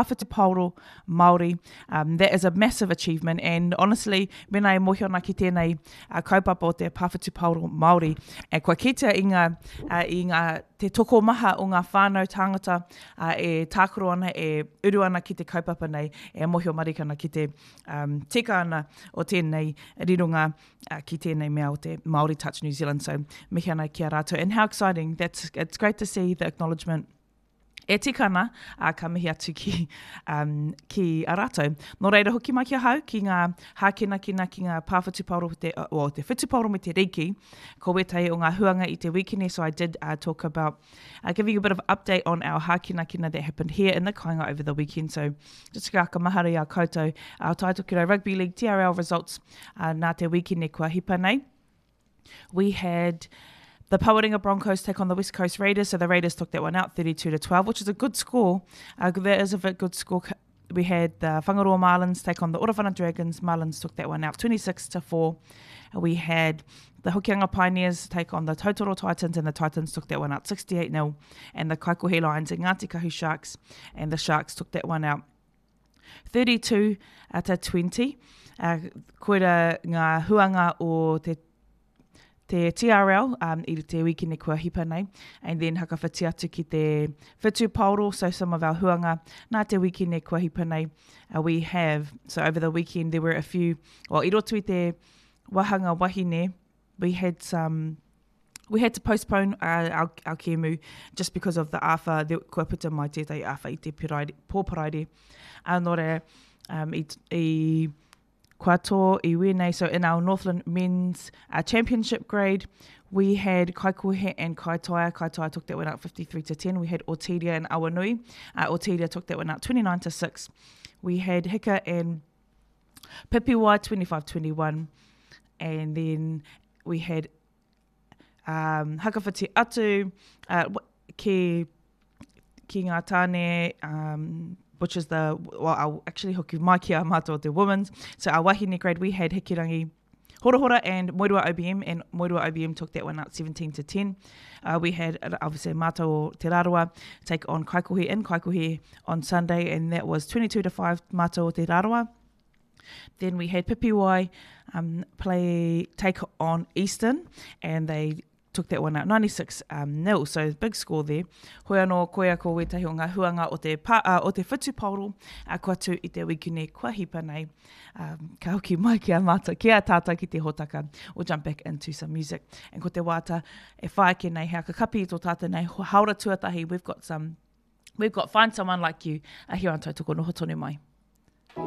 Whutupaoro Māori. Um, that is a massive achievement and honestly, mena e mōhio ana ki tēnei uh, kaupapa o te Pā Whutupaoro Māori, e kua kitea i ngā, uh, i ngā, te tokomaha o ngā whānau tāngata uh, e tākaro ana, e uru ana ki te kaupapa nei, e mōhio marika ana ki te um, tika ana o tēnei rironga uh, ki tēnei mea o te Māori Touch New Zealand. So, mihi ana ki a rātou. And how exciting. That's, it's great to see the acknowledgement E tika ana, ā, ka mihi atu ki, um, ki a rātou. Nō reira, hoki mai ki ahau, ki ngā hākinakina, ki ngā pā whutupaoro, te, well, te whutupaoro me te rīki, ko wētahi o ngā huanga i te wīkene, so I did uh, talk about uh, giving you a bit of update on our hākinakina that happened here in the kāinga over the weekend. So, just ka whakamahara i a koutou, our Tai Tokerau Rugby League TRL results uh, nā te wīkene kua hipa nei. We had the Pawarenga Broncos take on the West Coast Raiders. So the Raiders took that one out 32 to 12, which is a good score. Uh, that is a good score. We had the Whangaroa Marlins take on the Orawhana Dragons. Marlins took that one out 26 to 4. We had the Hokianga Pioneers take on the Tautoro Titans, and the Titans took that one out 68 0. And the Kaikohe Lions and Ngāti Kahu Sharks, and the Sharks took that one out 32 to 20. Uh, koira ngā huanga o te te TRL um, i te wikene kua hipa nei, and then hakawhiti atu ki te whetu paoro, so some of our huanga nā te wikene kua hipa nei, uh, we have, so over the weekend there were a few, well, i roto i te wahanga wahine, we had some we had to postpone uh, our, our kēmu just because of the āwha, the, kua puta mai tētahi āwha i te piraire, pō paraire. Uh, nō reira, um, i, i kua tō i wēnei, so in our Northland Men's uh, Championship grade, we had Kaikohe and Kaitaia. Kaitaia took that one out 53 to 10. We had Otiria and Awanui. Uh, Otiria took that one out 29 to 6. We had Hika and Pipiwai 25-21. And then we had um, Hakawhiti atu uh, ki, ki ngā tāne, um, which is the, well, I'll actually hoki mai ki a mātou o te women's. So our wahine grade, we had Hikirangi Horahora and Moerua OBM, and Moerua OBM took that one out 17 to 10. Uh, we had, uh, obviously, Mātou o Te Rarawa take on Kaikohe in Kaikohe on Sunday, and that was 22 to 5 Mātou o Te Rarawa. Then we had Pipiwai um, play take on Eastern, and they took that one out 96 um, nil, so big score there. Hoi anō, koia ko wētahi o ngā huanga o te, pa, uh, o te whutupaoro uh, kua tū i te wikine kua hipa nei. Um, ka hoki mai ki a mātou, ki a tātou ki te hōtaka. We'll jump back into some music. And ko te wāta e whai ake nei, hea ka kapi i tō tātou nei haora tuatahi, we've got some, we've got Find Someone Like You uh, here on Tautoko Noho Tonu Mai.